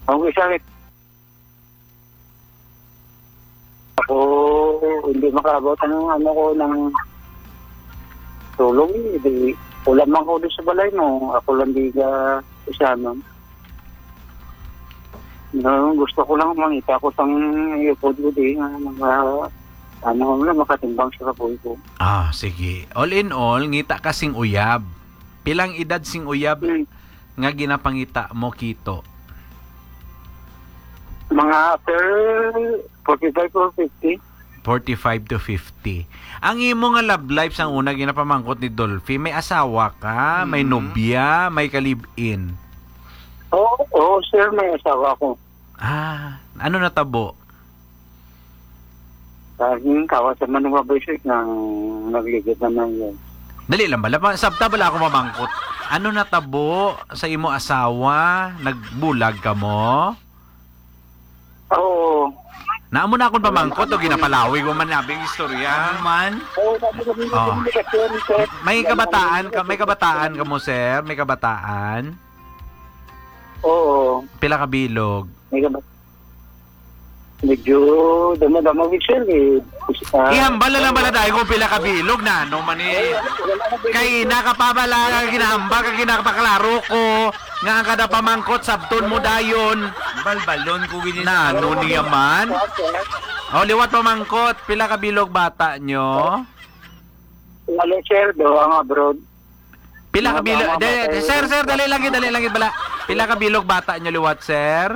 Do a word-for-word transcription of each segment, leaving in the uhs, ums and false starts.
Ang isa, ako, hindi makaabot ang ano ko ng tulong, eh. Di, wala man ko doon sa balay mo. Ako lang di ka isa, no? No, gusto ko lang mangita ko sang iyapod ko di nga mga, ano, nga makatimbang sa kapoy ko. Ah, sige. All in all, ngita ka sing uyab. Pilang edad sing uyab Hmm. nga ginapangita mo, Kito? Mga after forty-five or fifty. Forty-five to fifty. Ang imo nga love life sang una ginapamangkot ni Dolphy, may asawa ka, may Mm. nobya, may ka-live-in? Oo, oo, sir, may asawa ko. Ah, ano natabo? Laging kawa sa manunga, boy, sir, nang nagligid naman yun. Dali lang bala, ma-, sabta bala ako mamangkot. Ano natabo sa imo asawa? Nagbulag ka mo? Oo. Naamo na akong pamangkot o ginapalawig mo man nabing istorya. Ano man? Oo, sabi ko, may Oh. komunikasyon, sir. May kabataan ka, may kabataan ka mo, sir? May kabataan? Oo. Pila ka bilog? May kabat-, medyo damo-damo, sir, eh. Ah, Ihambal na lang bala tayo kung pila ka bilog na, ano man eh. Ay, wala, wala, wala. Kay nakapabala ka, ginahambal ka, ginapaklaro ko, nga ang kada pamangkot, sabton mo dayon. Balbalon ko gini. Na, ano niya man? O, liwat pamangkot, pila ka bilog bata nyo? Wala, sir, do, ang abroad. Pila ka Mga bilog? bata, Dali, sir, sir, dali lang, dali lang, bala. Pila ka bilog bata nyo liwat, sir?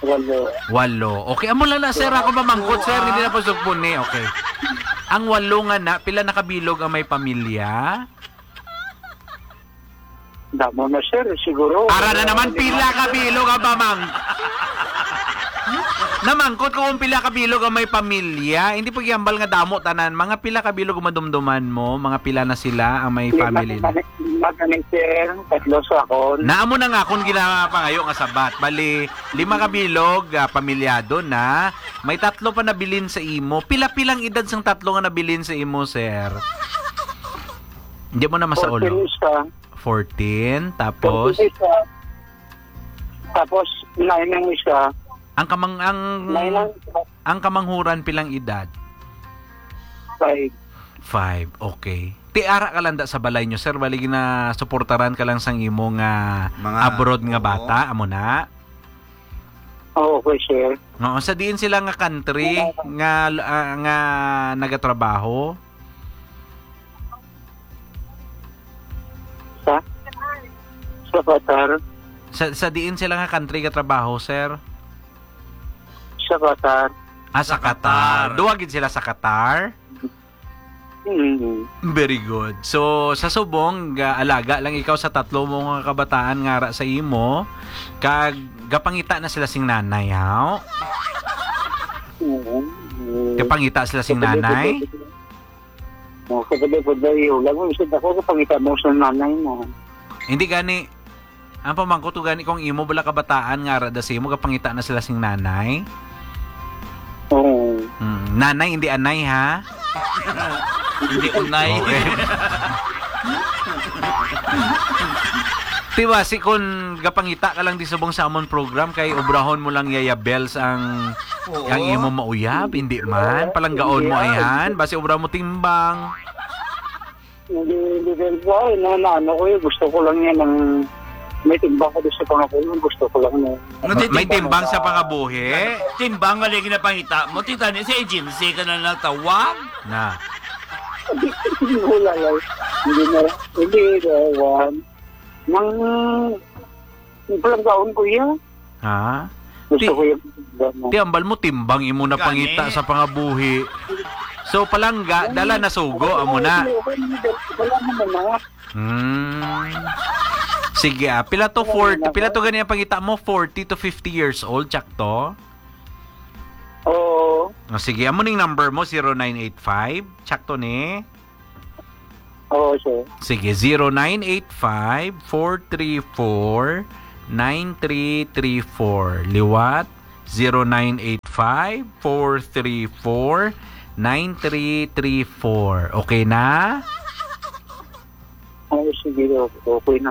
Walo. Walo. Okay, amo lang na, sir. Ako mamangkot, sir. Hindi na po sugpon ni. Okay. Ang walo nga na, pila nakabilog ang may pamilya? Damo na, sir. Siguro. Ara na naman, pila ka bilog ang pamang-, namangkot ko kung pila ka bilog ang may pamilya. Hindi po gihambal nga damo tanan. Mga pila ka bilog ang madumduman mo? Mga pila na sila ang may Lima family na? Lima kami, sir. Tatlo sa akon. Naamo na nga akong ginapangayo nga sabat. Bali, lima ka bilog, ah, pamilyado na. May tatlo pa nabilin sa imo. Pila-pilang edad sang tatlo nga nabilin sa imo, sir? Hindi mo na masaulo. Fourteen isa. Fourteen, tapos? Fourteen isa. Tapos, nine ang isa. Ang kamang-, ang, Nine ang isa. Ang kamanghuran, pilang edad? Five. Five, okay. Ti ara ka lang da sa balay nyo, sir, bali ginasuportaran ka lang sang imo nga Mga abroad nga Oo. bata, amo na? Oo, okay, sir. Oo, sa diin sila nga country Oo. nga, ah, nga nagatrabaho? Sa? Sa Qatar. Sa, sa diin sila nga country gatrabaho, sir? Sa Qatar. Ah, sa Sa Qatar. Qatar. Duwa gid sila sa Qatar? Mm. Very good. So, sa subong, ga-, alaga lang ikaw sa tatlo mo nga kabataan nga ara sa imo, kag gapangita na sila sing nanay, haw? Oo. Mm. Gapangita sila sing Kapag nanay? Oh, kapag, kapag, wala mo, isip ako, kapangita mo sa nanay mo. Hindi gani, ang pamangkot ko gani kung imo bala kabataan nga ara da sa imo, gapangita na sila sing nanay? Oo. Hmm, nanay, hindi anay, ha? Hindi unay. Okay. Diba, si kun gapangita ka lang di subong sa amon program, kay obrahon mo lang Yaya Bells ang Oo. Ang imo mauyab, hindi man. Palanggaon mo, Hindi, ayhan. Basi obra mo timbang. Hindi, hindi, hindi po. Ay, na, na, ano ko yun, gusto ko lang yan ang may timbang ko sa pangakulo. Gusto ko lang na May timbang sa pangabuhi? Timbang nga lagi na pangita mo. Tita, ni sa agency ka na natawag? Na. Wala lang. Hindi na. Hindi, uh, one. Nang, yung palanggaon ko yan. Ha? Gusto Ti-, ko yung, ti ambal mo, timbang imo na Gani. pangita sa pangabuhi. So, palangga, dala na sugo, amo na. Wala naman na. Hmm. Sige, ah. Pila to Wala forty? naman. Pila to gani ang pangita mo? Forty to fifty years old, tsakto? Oo. Ah, sige, amo ning number mo, zero nine eight five. Tsakto ni? Oo, sir. Sige, zero nine eight five, four three four, nine three three four. Liwat, zero nine eight five, four three four, nine three three four. Okay na? Oo, sige, okay, okay na.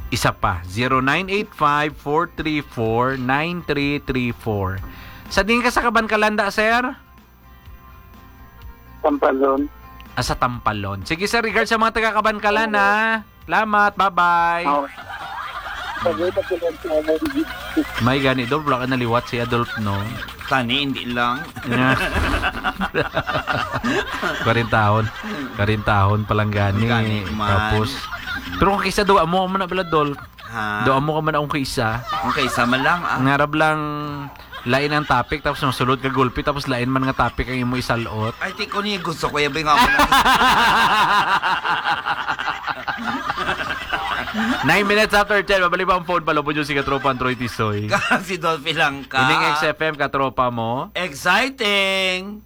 Isa pa, zero nine eight five, four three four, nine three three four. Sa diin ka sa Kabankalan da, sir? Tampalon. Ah, sa Tampalon. Sige, sir, regards sa mga taga Kabankalan, ha? Salamat, bye-bye. Oh. Sagot ako lang sa May gani, Dol, wala ka naliwat si Adolf, no? Tani, hindi lang. Kwarentahon. Kwarentahon pa lang gani. Gani man. Tapos, pero kung kisa duwa mo, man na bala, Dol. Ha? Duwa mo ka man akong kisa. Okay, sama lang ah. Ngarab lang, lain ang topic, tapos masulod ka gulpi, tapos lain man nga topic ang imo isalot. Ay, ti ko ni gusto ko yabi nga ako na Nine minutes after ten, mabalik pa ang phone, palubon nyo si Katropa ang Troy Tisoy. Si Dolphy lang ka. Ining X F M, katropa mo. Exciting!